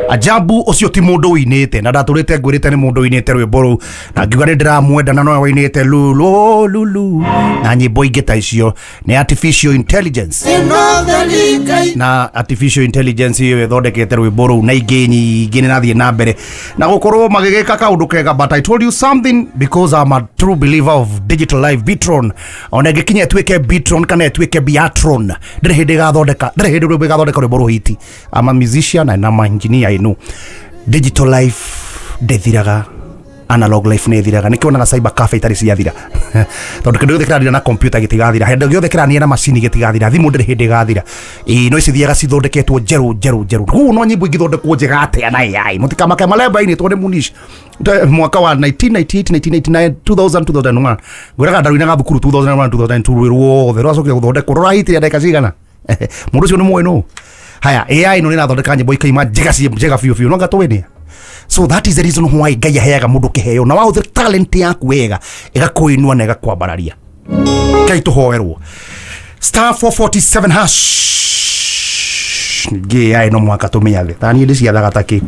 Ajabu ũcio ti mũndũ ũinĩte na ndatũrĩte ngwĩrĩte nĩ mũndũ ũinĩte rwĩmbo rũu na ngiuga nĩ ndĩramwenda na nowe wainĩte lulu lulu na nyĩmbo ingĩ ta icio. Nĩ artificial intelligence, na artificial intelligence ĩyo ĩthondekete rwĩmbo rũu na ingĩ nyingĩ nĩ nathiĩ na mbere na gũkorwo magĩgĩka kaũndũ kega. But I told you something, because I'm a true believer of digital life. Bitron ona ĩngĩkinya ĩtuĩke Bitron kana ĩtuĩke Biatron, ndĩrĩ hĩndĩ ĩgathondeka, ndĩrĩ hĩndĩ rwĩmbo ĩgathondeka rwĩmbo rũhiti. I'm a musician and I'm an engineer. I know digital life ndĩthiraga, analog life nĩ ĩthiraga. Nĩkĩo onaga cyber cafe itarĩ ciathira, tondũ kĩndũ gĩothe kĩrathira na computer gĩtigathira, kĩndũ gĩothe kĩrania na macini gĩtigathira, thimũ ndĩrĩ hĩndĩ ĩgathira. Ĩĩ, no ici thiaga cithondeketwo njerũ njerũ njerũ. Koguo no nyĩmbo ingĩthondekwo njega atĩa na AI, mũtikamake malemba inĩtwo nĩ Munish mwaka wa 1998, 1999, 2000, 2001. Ngwĩraga ndaruinaga thukuru 2001, 2002. Rwĩ ruothe rwacokire gũthondekwo rũrahitire ndagĩka cigana? Mũndũ ũcio nĩ mũĩ nũ. Haya, AI no nĩrathondeka nyĩmbo ikaima njega, ciĩ njega biũ biũ, no ngatũĩ. So that is the reason why Ngai aheaga mũndũ kĩheo na wahũthĩra talent yaku wega ĩgakũinua na ĩgakwambararia. Ngai tũhoerwo. Star 447 hash. Ningĩ AI no mũhaka tũmĩathe ta niĩ ndĩciathaga ta kĩ.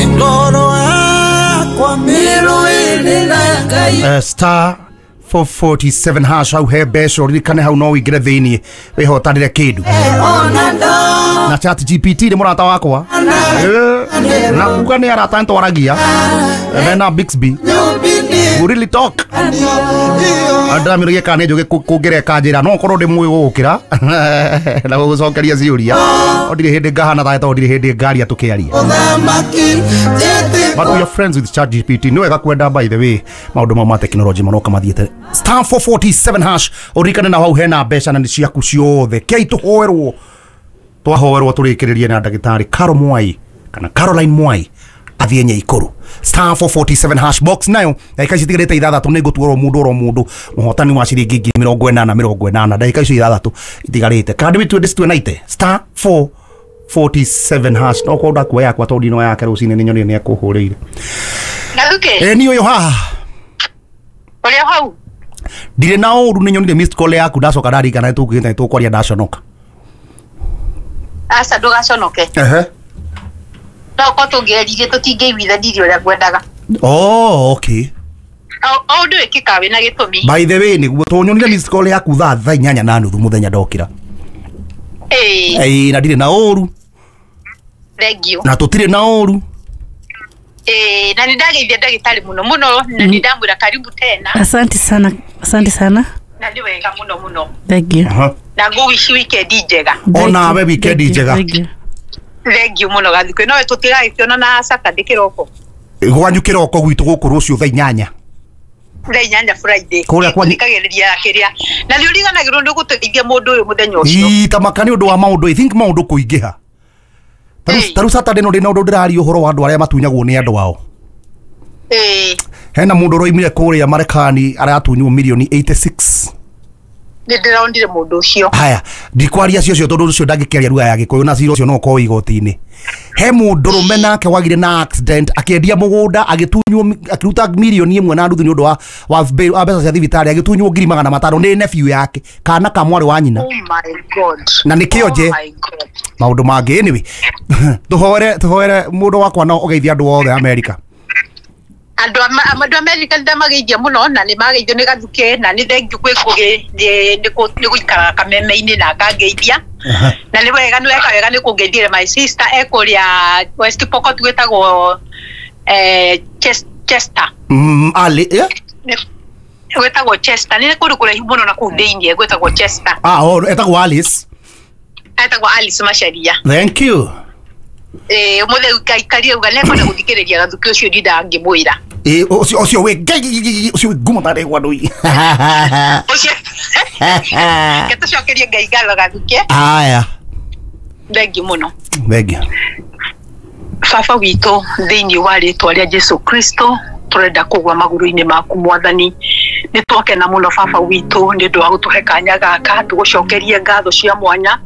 Ngoro yakwa mĩrũĩrĩ na Ngai. Star 447 hash, hau he mbeca. Ũririkane hau no ũingĩre thĩiniĩ wĩhotanĩre kĩndũ. Ona ndo Na Chat GPT nĩ mũrata wakwa. Na kuga nĩ arata nĩtwaragia mena Bixby. Nyũmbini. We really talk. Ndĩramĩũria kana nĩ njũgĩ kũngĩreka njĩra, no korwo ndĩ mũĩ gũgũkĩra na gũgũcokeria ciũria, no ndirĩ hĩndĩ ngahana tawe tondũ ndirĩ hĩndĩ ngaria tũkĩaria. Ũthamaki njĩtĩ. But we are friends with Chat GPT. Nĩ wega kwenda, by the way, maũndũ mau ma technology maroka mathiĩte. Star 447 hash, ũririkane na hau hena mbeca na nĩ ciaku ciothe. Kei tũhoerwo, twahoerwo tũrĩkĩrĩrie na ndagĩtarĩ Caro Mwai kana Caroline Mwai athiĩ Nyaikũrũ. Star 447 hash, box nayo ndagĩka ici itigarĩte 6 nĩ ngũtuorwo mũndũ oro mũndũ mũhotani wa ciringi 80,000 80 ndagĩka icio 6 itigarĩte. Kandi witue ndĩcitue star 447 hash, no korwo ndakuoya yakwa tondũ ndino yake rũcinĩ nĩ nyonire nĩ ekũhũrĩire. Gathuke. Ĩ, niĩ ũyũ haha. Ũrĩa hau. Ndirĩ na ũru, nĩ nyonire missed call yaku, ndacoka ndarikana nĩ tũkugĩte nĩ tũkwaria, ndaconoka. Aca, ndũgaconoke. Ehe. No ko tũngĩeririe tũtingĩiguithanirie ũrĩa ngwendaga. Oh, okay. O ũndũ wĩkĩkaga wĩna gĩtũmi. By the way, nĩguo tũnyonire missed call yaku thaa 8:30 mũthenya ndokĩra. Ĩĩ. Ĩĩ, na ndirĩ na ũru. Thank you. Na tũtirĩ na ũru. Ĩĩ, na nĩ ndageithia ndagĩtarĩ mũno mũno na nĩ ndamwĩra karibu tena. Asante sana, asante sana. Na nĩ wega mũno mũno. Thank you. Na ngũwici weekend njega. Thank Onawe you, weekend thank you, njega. thank you. Thank you mũno, Gathukĩ. Nowe tũtigagĩkĩona na Saturday kĩroko. Gwanyu kĩroko, gwitũ gũkũ rũciũ thaa 8. Thaa 8 Friday. Kũrĩa kwanyu- Thikagĩrĩria kĩrĩa na nĩ ũriganagĩrwo nĩ gũteithia mũndũ ũyũ mũthenya ũcio. Ii, ta maka nĩ ũndũ wa maũndũ, I think maũndũ kũingĩha. Ĩĩ. Tarĩu Saturday no ndĩna ũndũ ndĩraria ũhoro wa andũ arĩa matunyagwo nĩ andũ ao. Hena mũndũ ũroimire kũrĩa Marekani aratunywo mirioni 86. Nĩ ndĩronire mũndũ ũcio. Haya, ndikwaria cio cio tondũ ũcio ndangĩkĩaria lugha ya Gĩkũyũ na cira ũcio no ũkorwo igoti-inĩ. He mũndũrũme nake wagire na accident, akĩendia mũgũnda, agĩtunywo, akĩruta 1.5 nĩ ũndũ wa mbeca cia thibitarĩ, agĩtunywo 500,000 nĩ nephew yake, kana ka mwarĩ wa nyina. Oh my God. Na nĩkĩo nje- Oh my God. Maũndũ mangĩ, anyway, tũhoere tũhoere mũndũ wakwa no ũgeithia andũ othe Amerika. Andũ America nĩ ndamageithia mũno na nĩ mageithio nĩ Gathuke na nĩ thank you kwĩ Ngũgĩ nĩ gũikaraga kameme-inĩ na akangeithia na nĩ wega, nĩ weka wega nĩ kũngeithia. My sister e kũrĩa West Pokot gwĩtagwo Chester. Ali, eh? Gwĩtagwo Chester, nĩ kũndũ kũraihu mũno na kũu thĩiniĩ gwĩtagwo Chester. Ah, oh, etagwo Alice. Etagwo Alice Macharia. Thank you. Ũmũthĩ aikarire uga nĩekwenda gũthikĩrĩria Gathuke ũcio, ndindaga ngĩmwĩra. Ĩ, ũcio wĩ ngai, ũcio wĩ ngumo tarĩ gwa ndũi. Ũcio ke tũcokerie Ngai ngatho, Gathuke. Haya. Thank you mũno. Thank you. Baba witũ, thĩinĩ wa rĩtwa rĩa Jesu Kristo, tũrenda kũgwa magũrũ-inĩ maku, Mwathani. Nĩ twakena mũno baba witũ nĩ ũndũ wa gũtũhe kanya gaka tũgũcokerie ngatho cia mwanya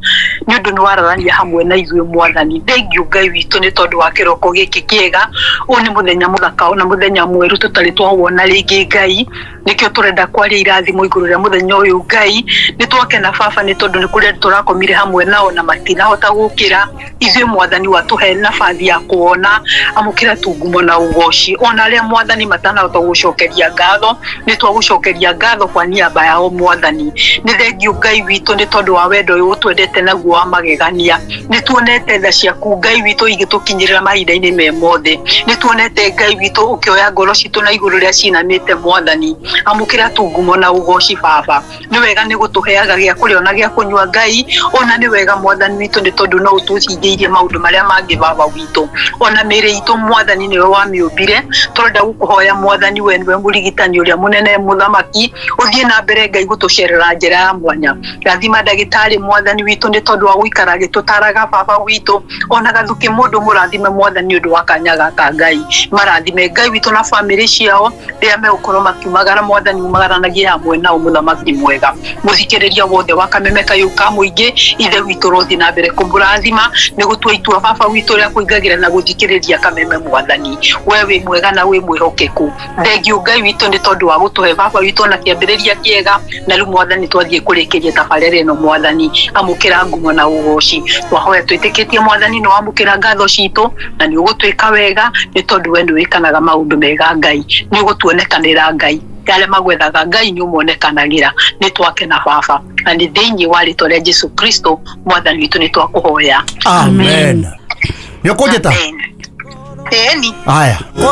nĩ ũndũ nĩ wararania hamwe na ithuĩ mwathani. Thengiũ Ngai witũ nĩ tondũ wa kĩroko gĩkĩ kĩega. Ũyũ nĩ mũthenya mũthaka na mũthenya mwerũ tũtarĩ twawona rĩngĩ Ngai, nĩkĩo tũrenda kwaria irathimo igũrũ rĩa mũthenya ũyũ Ngai. Nĩ twakena baba nĩ tondũ nĩ kũrĩa tũrakomire hamwe nao na matinahota gũkĩra. Ithuĩ mwathani watũhe nabathi ya kuona, amũkĩra tungumo na ũgoci. Ona arĩa mwathani matanahota gũcokeria ngatho, nĩ twagũcokeria ngatho kwa niaba yao mwathani. Nĩ thengiũ Ngai witũ nĩ tondũ wa wendo ũyũ ũtwendete naguo wa magegania. Nĩ tuonete tha ciaku Ngai witũ igĩtũkinyĩrĩra mahinda-inĩ me mothe. Nĩ tuonete Ngai witũ ũkĩoya ngoro citũ na igũrũ rĩa cinamĩte mwathani. Amũkĩra tungumo na ũgoci baba. Nĩ wega nĩ gũtũheaga gĩa kũrĩa ona gĩa kũnyua Ngai, ona nĩ wega mwathani witũ nĩ tondũ no ũtũhingĩirie maũndũ marĩa mangĩ baba witũ. Ona mĩĩrĩ itũ mwathani nĩwe wamĩũmbire. Tũrenda gũkũhoya mwathani, we nĩwe mũrigitani ũrĩa mũnene mũthamaki, ũthiĩ na mbere Ngai gũtũcerera njĩra ya mwanya. Rathima ndagĩtarĩ mwathani witũ nĩ tondũ wa gũikara agĩtũtaraga baba witũ. Ona gathukĩ mũndũ mũrathime mwathani ũndũ wa kanya gaka Ngai. Marathime Ngai witũ na bamĩrĩ ciao rĩrĩa megũkorwo makiumagara mwathani umagaranagie hamwe nao mũthamaki mwega. Mũthikĩrĩria wothe wa Kameme kayũ ka mũingĩ, ithe witũ rothiĩ na mbere kũmũrathima nĩ gũtua itua baba witũ rĩa kũingagĩra na gũthikĩrĩria Kameme mwathani. We wĩ mwega na wĩ mwĩhokeku. Thengiũ Ngai witũ nĩ tondũ wa gũtũhe baba witũ na kĩambĩrĩria kĩega, na rĩu mwathani twathiĩ kũrĩkĩria tabarĩra ĩno mwathani. Amũkĩra ngumo na ũgoci. Twahoya twĩtĩkĩtie mwathani nĩ wamũkĩra ngatho citũ na nĩ ũgũtwĩka wega nĩ tondũ we nĩ wĩkanaga maũndũ mega Ngai. Nĩ ũgũtuonekanĩra Ngai. Arĩa magwethaga Ngai nĩ ũmonekanagĩra. Nĩ twakena baba, na nĩ thĩinĩ wa rĩtwa rĩa Jesu Kristo mwathani witũ nĩ twakũhoya. Amen. Nĩ ũkũnjĩta? Amen. Ĩni. Aya. Kwa